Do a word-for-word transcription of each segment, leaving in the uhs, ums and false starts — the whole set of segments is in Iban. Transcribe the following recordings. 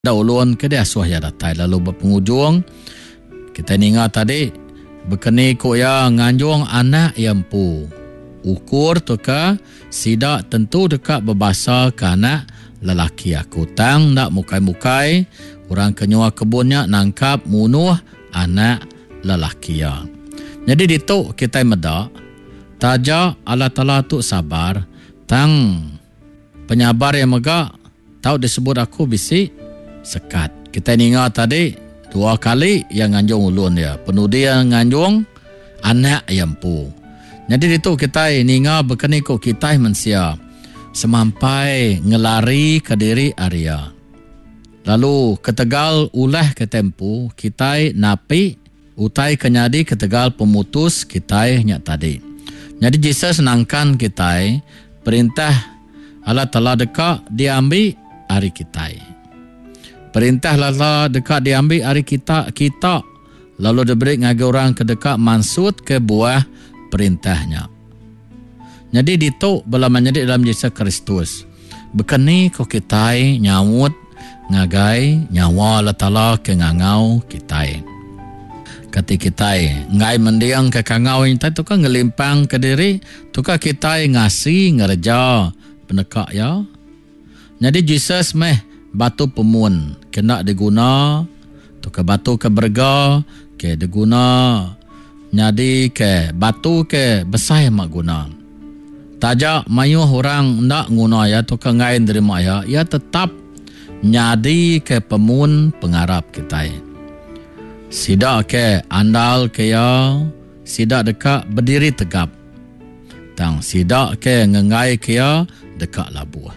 Da ulun ke diasuh iya datai lalu ba pengujung kitai ninga tadi bekeni ku iya nganjung anak iya empu. Ukur tauka sida tentu deka bebasa ke anak lelaki aku. Tang enda mukai-mukai orang ke nyua kebun nya nangkap munuh anak lelaki iya. Nyadi ditu kitai meda taja Allah Taala tu sabar tang penyabar iya mega tau disebut aku bisi sekat. Kitai ninga tadi dua kali iya nganjung ulun iya. Penudi iya nganjung anak iya empu. Nyadi ditu kitai ninga bekeni ku kitai mensia semampai ngelari ke diri ari iya. Lalu ketegal ulah kitai empu, kitai napi utai ke nyadi ketegal pemutus kitai nya tadi. Nyadi Jesus nangkan kitai perintah Allah Taala deka diambi ari kitai. Perintah Allah Taala deka diambi ari kita kita lalu diberi ngagai orang ke deka mansut ke buah perintah nya. Nyadi ditu bala menyadi dalam Jesus Kristus. Bekeni ko kitai nyaut ngagai nyawa Allah Taala ke ngangau kitai. Kati kitai enggai mending ke kangau kitai tu kan ngelimpang ke diri, tu ka kitai ngasi ngereja peneka iya. Nyadi Jesus meh batu pemun kena diguna tu ke batu ke berega ke diguna nyadi ke batu ke besai amat guna. Taja mayuh orang enda nguna iya tu ke enggai nerima iya, iya tetap nyadi ke pemun pengarap kitai. Sida ke andal ke iya, sida deka berdiri tegap. Tang sida ke ngenggai ke iya deka labuh.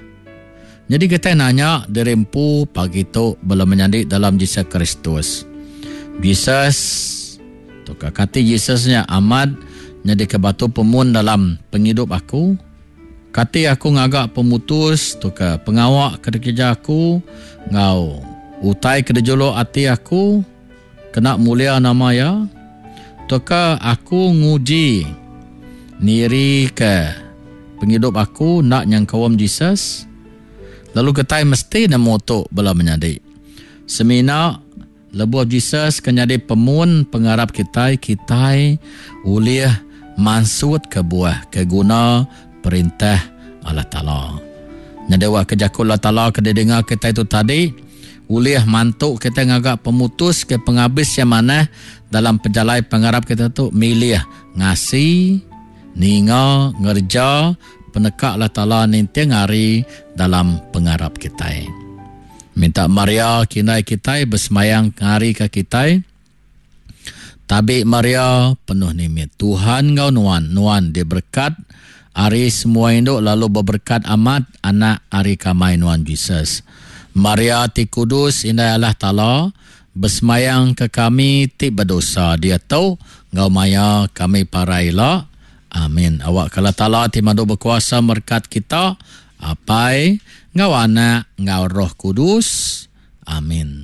Jadi kita nanya diri empu pagi tu bala menyadi dalam Jesus Kristus. Jesus tu ka kati Jesus nya amat nyadi ke batu pemun dalam pengidup aku. Kati aku ngaga pemutus tu ke pengawa ke dikereja aku ngau utai ke dijuluk ati aku kena mulia nama iya. Tu ka aku nguji niri ke pengidup aku nak nyengkaum Jesus. Lalu kitai mesti nemu tu bala menyadi. Semina lebuh Jesus ke nyadi pemun pengarap kitai, kitai ulih mansut ke buah ke guna perintah Allah Taala. Nyadi wak ke jaku Allah Taala ke didengar kitai tu tadi ulih mantu kitai ngaga pemutus ke pengabis yang manah dalam pejalai pengarap kita tu milih ngasi, ninga, ngerja peneka Allah Taala ninting hari dalam pengarap kitai. Minta Maria kindai kitai bersemayang ngari ke kitai. Tabi Maria penuh nimit Tuhan ngau nuan, nuan diberkat ari semua induk lalu berberkat amat anak ari kamai nuan Jesus. Maria ti kudus indai Allah Taala bersemayang ke kami ti berdosa dia tu ngau maya kami paraila. Amin. Awak Allah Taala ti madu berkuasa berkat kita, Apai, ngau anak, ngau Roh Kudus. Amin.